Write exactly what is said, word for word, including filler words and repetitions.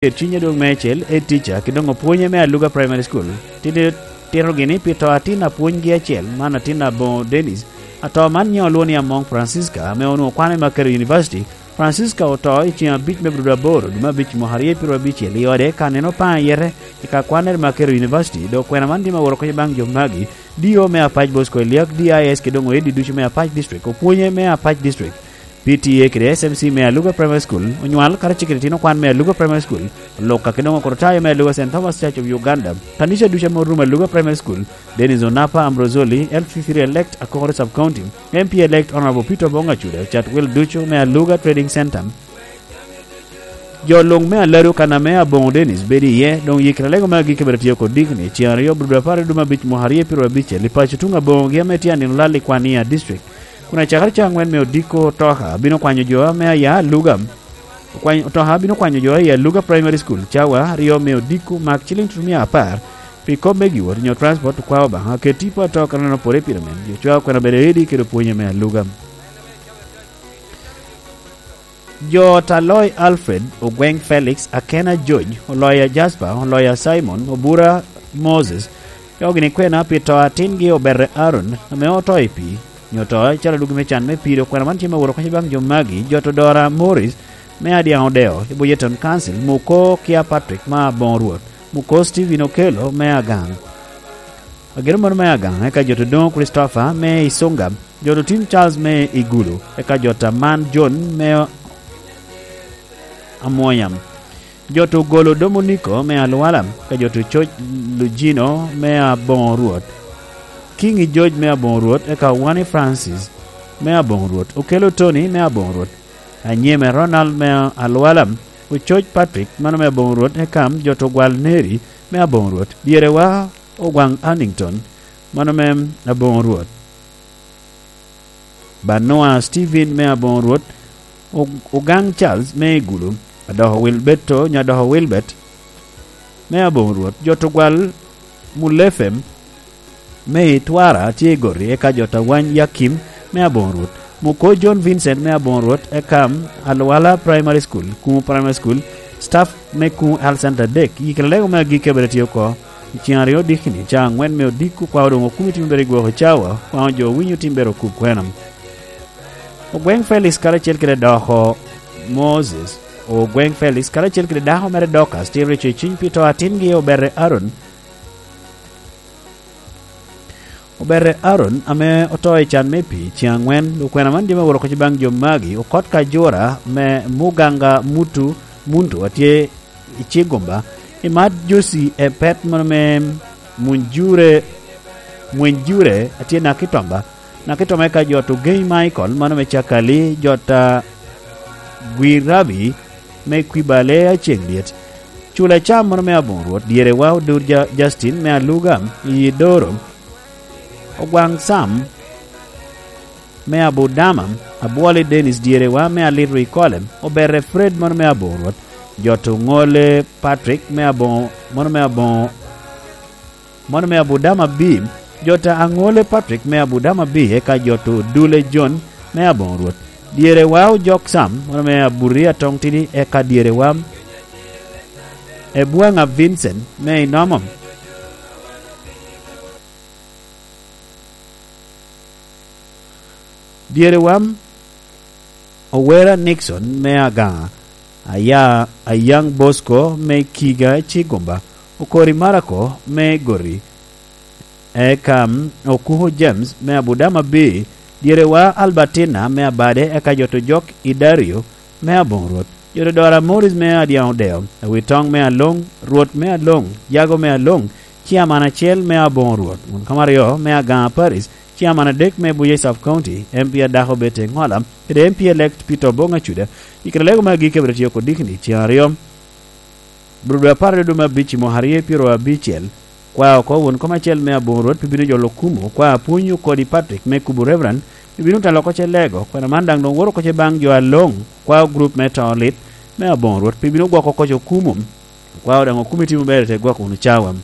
Ket cwiny adwoŋ meicel, head teacher, kede doŋ opwonye me Aluga Primary School, tito, titogi ni pi to atin apwonygi acel, man atin aboŋo Dennis. Ato man nyiŋe olwoŋo ni Among Francisca, ame onwoŋo kwane i Makerere University. Francisca oto i ceŋ abic me Abril aboro, dwe me abic mwaka aryo pyeraryo abicel, i ode kan en opaŋo ayete i ka kwannere i Makerere University, dok kwena man tye me woro kec baŋ jo magi, D O me Apac Bosco Eliak, D I S kede doŋ oedi ducu me Apac District, opwonye me Apac District. P T A kede S M C me Aluga Primary School, onywal karacel kede itino kwan me Aluga Primary School, olok ka kede doŋ okoto tayo me Aluga Saint Thomas Church of Uganda, kanica ducu ame orumo Aluga Primary School, Dennis Onapa Ambrosoli, L C three elect Akokoro Sub County, M P elect Honorable Peter Obong Acuda, cat wel ducu me Aluga Trading Center. Jo luŋ me Aladu kan ame Aboŋo Dennis bedo iye, doŋ yikere alego me agikki bene tye oko dikni, ceŋ aryo, Abril apar i dwe me abic mwaka aryo pyeraryo abicel, i paco tuŋ Aboŋogi ame tye anino lal i Kwania District. Kun acakere ca aŋwen me odiko, Toka bino kwanyo jo ame aya Aluga, okwanyo, Toka bino kwanyo jo aya Aluga Primary School, cawa aryo me odiko, mak ciliŋ tutumia apar pi kop me giwot nyo transport, okwao Obaŋa oket tipo ato kan aneno pore pire men, jo cwao kwena bedo edi kede opwonye me Aluga. Jo ot a Loy Alfred, Ogweng Felix, Akena George, Oloya Jasper, Oloya Simon, Obura Moses, yogi ni kwena pi to atingi Oberre Aaron, ame oto i pii, nyo to acalo dwogi me can me pii, dok kwena man tye me woro kec baŋ jo magi, jo to Dora Morris, me Adiaŋ Odeo, i Boyeton Council, Muko Kia Patrick, ma Aboŋo Rwot, Muko Stephen Okello, me Agaŋ. Ageno mano me Agaŋ, eka jo to Doŋo Christopher, me Isunga, jo to Tim Charles me Igulu, eka jo to Aman John me Amwonyam, jo to Golo Domoniko me Alwala, eka jo to Coc Lujino me Aboŋo Rwot, King i George me Aboŋo Rwot, eka Wani Francis me Aboŋo Rwot, Okelo Tony me Aboŋo Rwot, Anyeme Ronald me Alwala, Ococ Patrick, mano me Aboŋo Rwot, eka jo to Gwal Neri me Aboŋo Rwot, Dyerewa Ogwaŋ Hannington, mano me Aboŋo Rwot. Banua Stephen me Aboŋo Rwot, O-, Ogaŋ Charles me Igulu, Adoko Wilberto, nyo Adoko Wilbert me Aboŋo Rwot, jo to Gwal Mulefem me Itwara tye i Gori, eka jo to Awany Yakim me Aboŋo Rwot, Muko John Vincent me Aboŋo Rwot, eka Alwala Primary School, Kumu Primary School, staff me Kumu Health Center adek, yikere alego me agikki abed atye oko. I ceŋ aryo dikini, ca aŋwen me odiko, kwao doŋ okumi tim obedo i gwoko cawa, kwao jo winyo tim bedo okub kwena. Ogweng Felix karacel kede doko Moses, Ogweng Felix karacel kede dako mere Dorcas tye reco i cwiny pi to atingi Oberre Aaron. Oberre Aaron ame oto i can me pii ceŋ aŋwen, okwena man jami aworo kec baŋ jo magi, okot ka jura me Muganga Mutu Muntu atye i Cigumba, i Mat Josi e pet mano me Munjure, Mwenjure atye Nakitwamba, Nakitwamba eka jo to Gay Michael, mano me Cakali, jo ta Gwirabi me Kwibale Aceŋ Lyet. Cula cam mano me Aboŋo Rwot, Dyerewa Odur Ja-, Justin me Aluga i Doro, Ogwaŋ Sam me Abudama, Abwoli Dennis Dyerewa me Alito i Kolem, Oberre Fred mano me Aboŋo Rwot, jo to Ŋole Patrick me Aboŋo, mano me Aboŋo, mano me Abudama B, jo to Aŋole Patrick me Abudama B, eka jo to Dule John me Aboŋo Rwot, Dyerewa Ojok Sam, mano me Abuti Atoŋ Tidi, eka Dyerewa Ebwaŋa Vincent me Inomo. Dyere wam, Owera Nixon me Agaŋa, Aya-, Ayaŋ Bosco me Kiga Cigumba, Okori Marako me Gori, eka Okuko James me Abudama B, Dyerewa Albertina me Abade, eka jo to Jok i Dario me Aboŋo Rwot, jo to Dora Morris me Adiaŋ Odeo, Awitoŋ me Aloŋ, Rwot me Aloŋ, Jago me Aloŋ, Ciaman acel me Aboŋo Rwot, won kama aryo me Agaŋa Parish, Ciaman adek me Buye Sub County, M P adako Betty Ŋola, kede M P elect Peter Oboŋ Acuda, i kare lego me agikki abiro tye oko dikni ceŋ aryo. Bro dwe apar dwe me abic i mwaka aryo pyero abicel, kwa oko won kom acel me Aboŋo Rwot pi bino jolo okumo, kwa apwony okodi Patrick me kubo Reverend, pi bino talo oko ce lego, kwena man daŋ doŋ woro oko ce baŋ jo Aloŋ, kwa group me to lit me Aboŋo Rwot pi bino gwoko oko ce okumo, kwa daŋ okumi timo ber te gwoko wunu cawa.